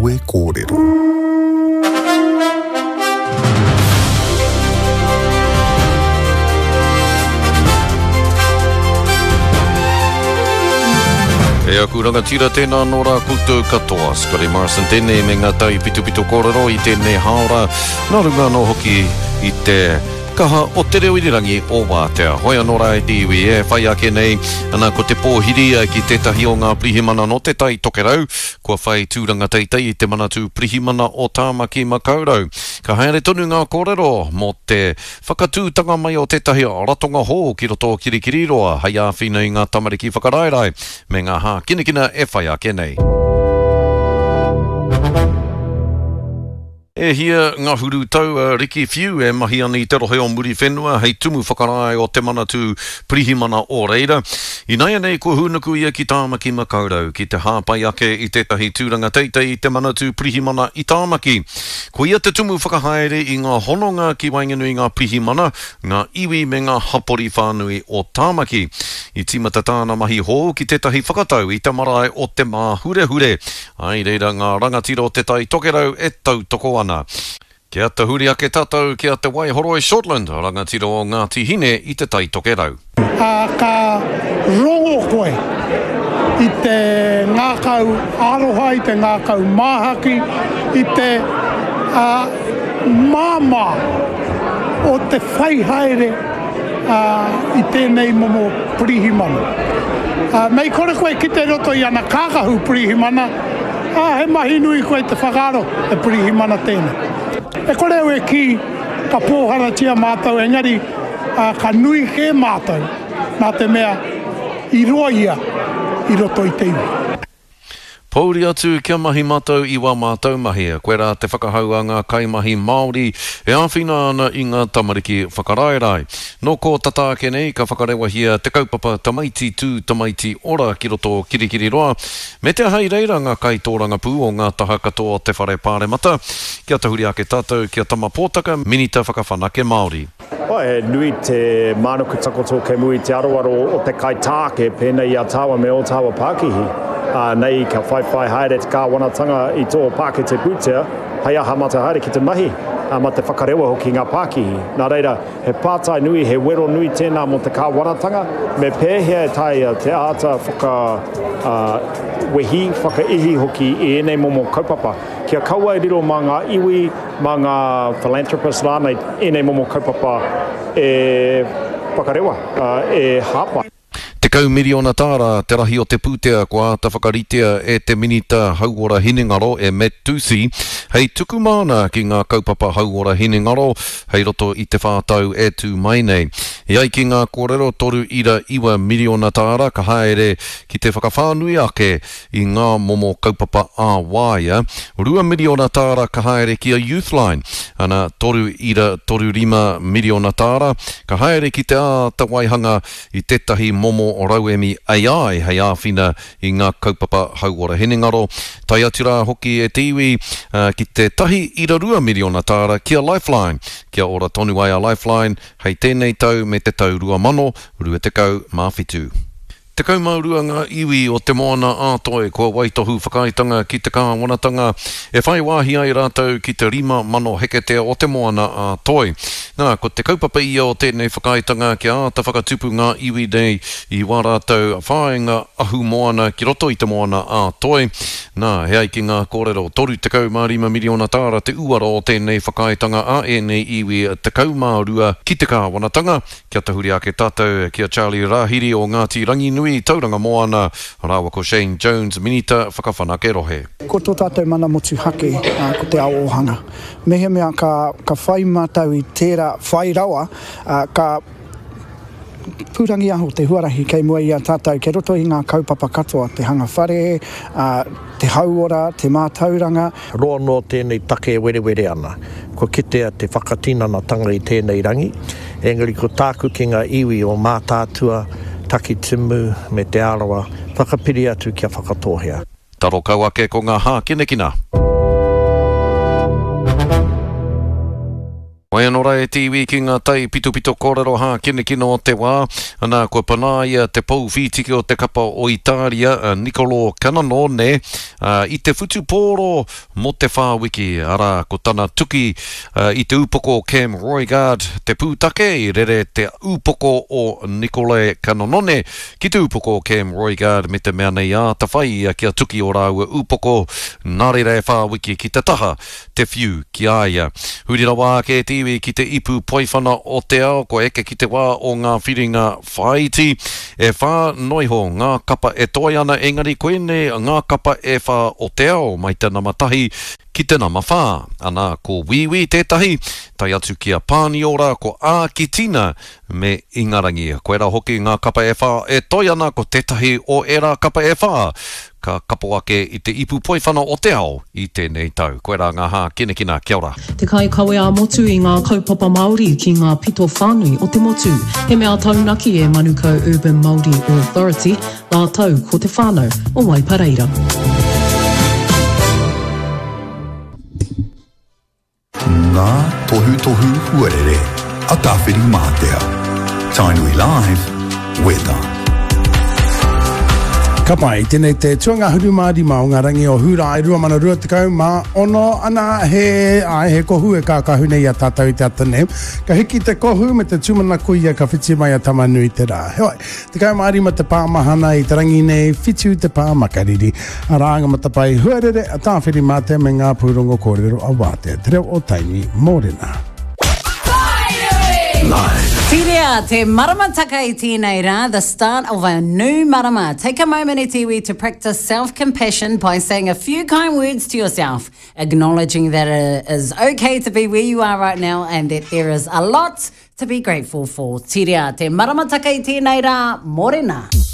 Kawe Kōrero. E aku rangatira, tēnā anō rā koutou katoa. Scotty Morrison tēnei me ngā taipitopito kōrero i tēnei hāora, nā runga anō hoki i te kaha o te reo irirangi o Wātea. Hoi anō rā e te iwi e whai ake nei ana ko te pōhiri ki tētahi o ngā pirihimana nō Te Tai Tokerau, kua whai tūranga teitei i te Manatū Pirihimana o Tāmaki Makaurau. Ka haere tonu ngā kōrero mō te whakatūtanga mai o tētahi ratonga hou ki roto o Kirikiriroa hei āwhina i ngā tamariki whakaraerae me ngā hākinakina e whai ake nei. E hia ngahuru tau a Ricky Whiu e mahi ana i te rohe o Muriwhenua hei tumu whakarae o Te Manatū Pirihimana o reira. Inaianei kua hūnuku ia ki Tāmaki Makaurau ki te hāpai ake i tētahi tūranga teitei i Te Manatū Pirihimana i Tāmaki. Ko ia te tumu whakahaere i ngā hononga ki waenganui i ngā pirihimana, ngā iwi me ngā hapori whānui o Tāmaki. I tīmata tāna mahi hou ki tētahi whakatau i te marae o Te Māhurehure, Ā, i reira ngā rangatira o Te Tai Tokerau e tautoko ana. Kia tahuri ake tātou ki a Te Waihoroi Shortland, rangatira o Ngāti Hine i Te Tai Tokerau. Ā, ka rongo koe i te ngākau aroha, i te ngākau māhaki, i te māmā o te whai haere i tēnei momo pirihimana. Mei kore koe kite i roto i ana kākahu pirihimana, ā, he mahi nui koe te whakaaro he pirihimana tēnei. E kore au e kī ka pōharatia mātou engari ka nui kē mātou nā te mea i roa ia i roto i te iwi. Pouri atu kia mahi matou i wā mātou mahi. Koirā te whakahau a ngā kaimahi Māori e āwhina ana i ngā tamariki whakaraerae. Nō kō tata ake nei ka whakarewahia te kaupapa Tamaiti Tū Tamaiti Ora ki roto o Kirikiriroa, me te aha i reira ngā kaitōrangapū o ngā taha katoa o te Whare Pāremata. Kia tahuri ake tātou ki a Tama Pōtaka, Minita Whakawhanake Māori. Oh, he nui te mānuku takoto kei mua i te aroaro o te kaitāke pēnei i a tāua me ō tāua pākihi. Ā, nei ka whaiwhai haere te kāwanatanga i tō pākete pūtea hei aha mā te haere ki te mahi, ā, mā te whakarewa hoki ngā pākihi. Nā reira, he pātai nui, he wero nui tēnā mō te kāwanatanga, me pēhea e taea te āta whaka, ā, wehi, whakaihi hoki i ēnei momo kaupapa, kia kaua e riro mā ngā iwi, Mā ngā philanthropists rānei ēnei momo kaupapa e whakarewa, e hāpai. 10 miriona tāra te rahi o te pūtea kua āta whakaritea e te Minita Hauora Hinengaro e Matt Doocey hei tuku māna ki ngā kaupapa hauora hinengaro hei roto i te whā tau e tū mai nei. E ai ki ngā kōrero, 3.9 miriona tāra ka haere ki te whakawhānui ake i ngā momo kaupapa ā-waea, 2 miriona tāra ka haere ki a Youthline, ana, 3.35 miriona tāra ka haere ki te āta waihanga i tētahi momo rauemi AI hei āwhina i ngā kaupapa hauora hinengaro, tae atu rā hoki e te iwi ki te 1.2 miriona tāra ki a Lifeline, kia ora tonu ai a Lifeline hei tēnei tau me te tau 2027. 12 ngā iwi o Te Moana a Toi kua waitohu whakaaetanga ki te kāwanatanga e whai wāhi ai rātou ki te 5,000 heketea o Te Moana a Toi. Nā, ko te kaupapa ia o tēnei whakaaetanga kia āta whakatupu ngā iwi nei i wā rātou whāinga ahumoana ki roto i Te Moana a Toi. Nā, e ai ki ngā kōrero, 35 miriona tāra te uara o tēnei whakaaetanga a ēnei iwi 12 ki te kāwanatanga, Kia tahuri ake tātou ki a Charlie Rahiri o Ngāti Ranginui, Tauranga Moana, rāua ko Shane Jones, Minita Whakawhanake Rohe. Ko tō tātou mana motuhake ko te ao ōhanga. Mehemea ka ka whai mātou i tērā whai rawa, ka pūrangiaho te huarahi kei mua i a tātou kei roto i ngā kaupapa katoa, te hanga whare, te hauora, te mātauranga. Roa noa tēnei take e werewere ana. Kua kitea te whakatinanatanga i tēnei rangi, engari ko tāku ki ngā iwi o Mātaatua, Takitimu me Te Arawa, whakapiri atu kia Whakatōhea. Taro kau ake ko ngā hākinakina. Wai anō rā e te iwi ki ngā tai pitopito kōrero hākinakina o te wā, ana kua panaia te pou whītiki o te kapa o Itāria, a Nicolò Cananone, i te whutupōro mō te whā wiki, arā, ko tana tuki i te upoko o Cam Roigard te pūtake, i rere te upoko o Nicolè Cananone ki te upoko o Cam Roigard me te mea nei āta whai ia kia tuki ō rāua upoko, nā reira e whā wiki ki te taha te whiu ki a ia. Huri rawa ake te iwi ki te ipu poiwhana o te ao, kua eke ki te wā o ngā whiringa whāiti. E whā noiho ngā kapa e toe ana, engari koinei ngā kapa e whā o te ao, mai te nama tahi ki te nama whā. Ana, ko Wīwī tētahi, tae atu ki a Pāniora, ko Ākitina me Ingarangi. Koirā hoki ngā kapa e whā e toe ana, ko tētahi o ērā kapa e whā ka kapo ake i te ipu poiwhana o te ao i tēnei tau. Koirā ngā hākinakina. Kia ora. Te kaikawe ā-motu i ngā kaupapa Māori ki ngā pito whānui o te motu. He mea taunaki e Manukau Urban Māori Authority rātou ko te whānau o Waipareira. Ngā tohutohu huarere a Tāwhirimātea. Tainui Live, Weather. Ka pai, tēnei te tuangahuru mā rima o ngā rangi o Hūrae 2026 ana he, āe, he kohu e kākahu nei i a tātou i te ata nei. Ka hiki te kohu me te tūmanako ia ka whiti mai a Tamanui te rā. Heoi, 15 te pā mahana i te rangi nei, whitu te pā makariri. Arā ngā matapae huarere a Tāwhirimātea me ngā pūrongo kōrero a Wātea, Te Reo o Tainui, Mōrena. Tirea te maramataka i tēnei rā, the start of a new marama. Take a moment e te iwi to practice self-compassion by saying a few kind words to yourself, acknowledging that it is okay to be where you are right now and that there is a lot to be grateful for. Tirea te maramataka i tēnei rā, mōrena.